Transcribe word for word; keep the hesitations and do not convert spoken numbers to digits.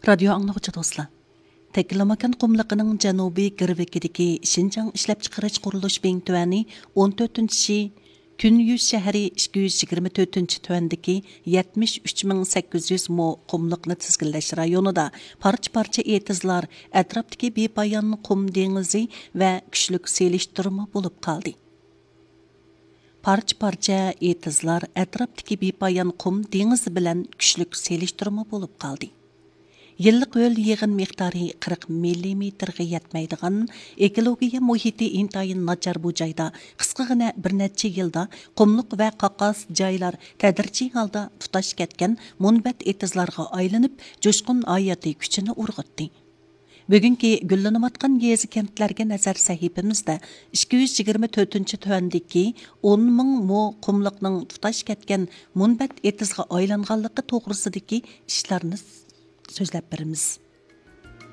رادىيو ئاڭلىغۇچى دوستلار، تەكلىماكان قۇملۇقىنىڭ جەنۇبىي گىرۋىكىدىكى شىنجاڭ ئىشلەپچىقىرىش قۇرۇلۇش بىڭتۈەنى ئون تۆتىنچى شى تۈنيۈز شەھىرى ئىككى يۈز يىگىرمە تۆتىنچى تۈەندىكى يەتمىش ئۈچ مىڭ سەككىز يۈز مو قۇملۇقنى تىزگىنلەش رايونىدا پارچە-پارچە ئېتىزلار، ئەتراپتىكى بىپايان قۇم دېڭىزى ۋە كۈچلۈك سېلىشتۇرما بولۇپ قالدى. پارچە-پارچە ئېتىزلار ئەتراپتىكى بىپايان قۇم دېڭىزى بىلەن كۈچلۈك سېلىشتۇرما بولۇپ قالدى. يىللىق ھۆل يېغىن مىقدارى قىرىق مىللىمېتىرغا يەتمەيدىغان، ئېكولوگىيە مۇھىتى ئىنتايىن ناچار بۇ جايدا قىسقىغىنە بىر نەچچە يىلدا قۇملۇق ۋە قاقاس جايلار تەدرىجىي ھالدا تۇتاش كەتكەن مۇنبەت ئېتىزلارغا ئايلىنىپ، جۇشقۇن ھاياتىي كۈچىنى ئۇرغۇتتى. بۈگۈنكى گۈللىنىۋاتقان يېزا-كەنتلەرگە نەزەر سەھىپىمىزدە ئىككى يۈز يىگىرمە تۆتىنچى تۆۋەندىكى ئون مىڭ مو قۇملۇقنىڭ تۇتاش كەتكەن مۇنبەت ئېتىزغا ئايلانغانلىقى توغرىسىدىكى ئىشلارنى سۆزلەپ بېرىمىز.